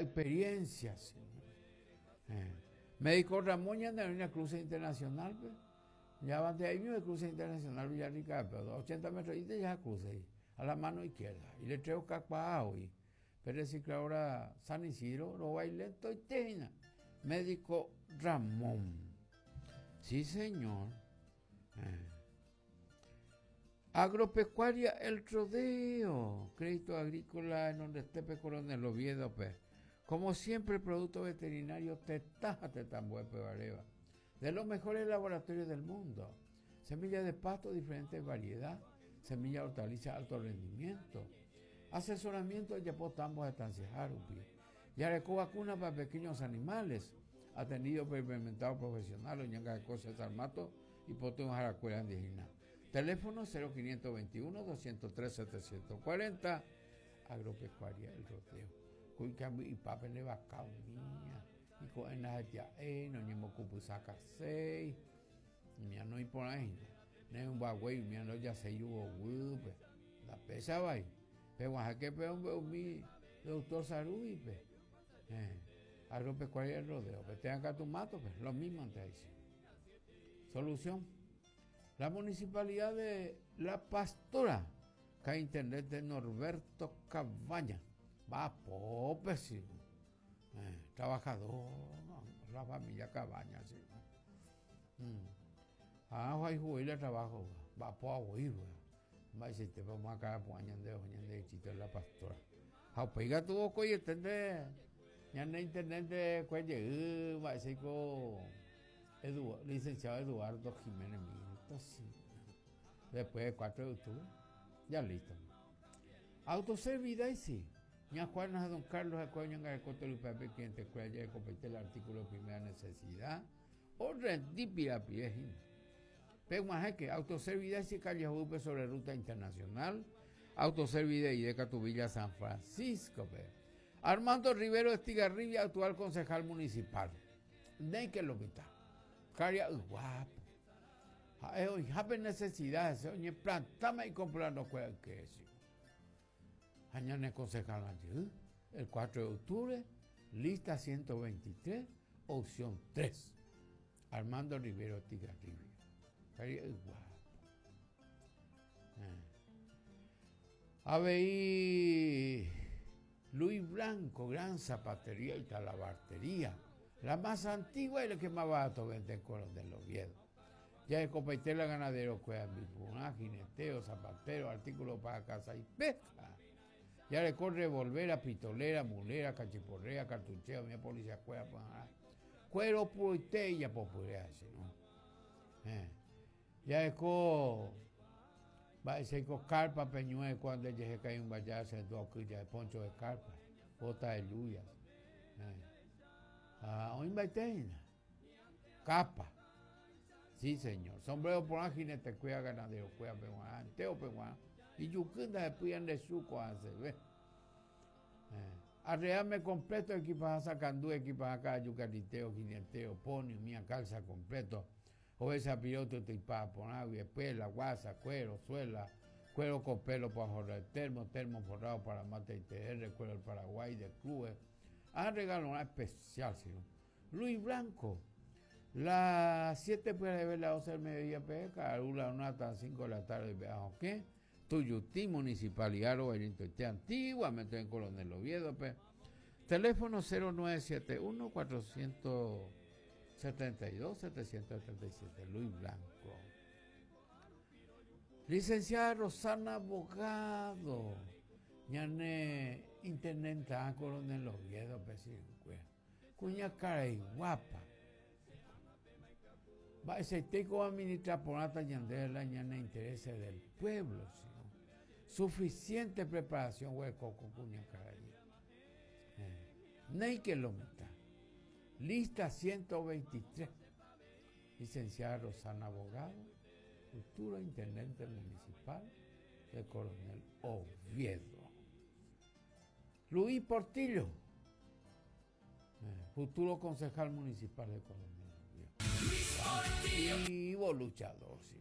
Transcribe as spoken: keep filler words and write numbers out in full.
Experiencia. Sí. Eh. Médico Ramón ya en una cruce internacional, pues. Ya van de ahí mismo el cruce internacional Villarrica, pero ochenta metros y ya cruce ahí, a la mano izquierda. Y le traigo cacuao y pero recicladora San Isidro, lo bailento y tejina. Médico Ramón. Sí, señor. Eh. Agropecuaria El Rodeo. Crédito agrícola en donde esté Coronel Oviedo, pe. Como siempre, producto veterinario tetaja tetambuepe bareba. De los mejores laboratorios del mundo. Semillas de pasto, diferentes variedad. Semilla de hortaliza, alto rendimiento. Asesoramiento de Yapotambos de Estancia Jarupi. Yareco vacuna para pequeños animales. Atendido por implementado profesional, Oñanga de Cosas Armato y Potón Jaracuela Andijina. Teléfono cero quinientos veintiuno, doscientos tres, setecientos cuarenta. Agropecuaria El Rodeo. Cuicambi y papel de vaca mía. Y con en la eh, no ni mocupusaca seis. Mía no hay por ahí. No un bagüey, mía no ya se yugo, la pesa va ahí. Pero que pe mi doctor Sarui, pe. Eh, agropecuaria El Rodeo, pe tengan acá tu mato, pe, lo mismo antes ahí. Solución. La municipalidad de La Pastora, que intendente Norberto Cabaña. Va pope, sí. Eh, trabajador, la familia Cabaña, sí. Mm. Ah, hay juguete trabajo, va po a huir, va a decir, te vamos a caer por años de años de chito en La Pastora. Jaupiga tuvo coye, tende, ya no intendente cuelle, va a decir con licenciado Eduardo Jiménez Mirta, sí. Después de cuatro de octubre, ya listo. Autoservida y sí. Ña Juana Don Carlos Acuña en el Coto Lupape, cliente cuella de compete el artículo de primera necesidad o rendipira piejina. Peguajeque, Autoservida y calle Jupe sobre ruta internacional, Autoservida y de Catubilla San Francisco. Pe. Armando Rivero Estigarribia, actual concejal municipal. De que lo quita. Caria guapo. Hoy jape necesidad, se oye plantame y comprando cuál que es. Añane concejal allí, el cuatro de octubre, lista ciento veintitrés, opción tres. Armando Rivero Estigarribia. Guapo. Eh. A ver, Luis Blanco, gran zapatería y talabartería. La más antigua y la que más barato vende en Coronel Oviedo. Ya de Copaitela, ganadero, cueva, jineteo, zapatero, artículos para casa y pesca. Ya le corre revolvera, pistolera, mulera, cachiporrea, cartucheo, mi policía, cueva, cuero, puritella, popular, ¿no? Eh. Ya es co va a ser con carpa peñué cuando ella se cae un vallazo en dos de poncho de carpa, bota de lluvias. Eh. Ah, hoy capa. Sí, señor. Sombrero por jinete, cuida ganadero, cuida peguán, anteo peguán. Y yucunda de pidan de suco hace, ve. Eh. Arreame completo, equipaje sacandú, equipaje acá, yucariteo, jineteo, pony, mía calza completo. O esa piloto te ipa por agua, pela, guasa, cuero, suela, cuero con pelo para jorrar termo, termo forrado para mate y T R, cuero del Paraguay, de clubes. Ah, regalo una especial, sino. Luis Blanco, las siete puede ver las doce del mediodía, P, Carula, una hasta cinco de la tarde, veamos qué. Tuyutí, Municipalidad, Roberto, antiguamente en Coronel Oviedo, P. Teléfono cero nueve siete uno, cuatrocientos setenta y dos, setecientos treinta y siete, Luis Blanco. Licenciada Rosana Abogado, ñane intendenta Coronel Oviedo, P. Cuña cara y guapa. Va ese teco administrar por nata ñandela ñane intereses del pueblo, sino suficiente preparación hueco con cuña cara y. Eh. Ney que lo meta. Lista ciento veintitrés. Licenciada Rosana Abogado, futura intendente municipal de Coronel Oviedo. Luis Portillo, eh, futuro concejal municipal de Coronel Oviedo. Vivo luchador, sí.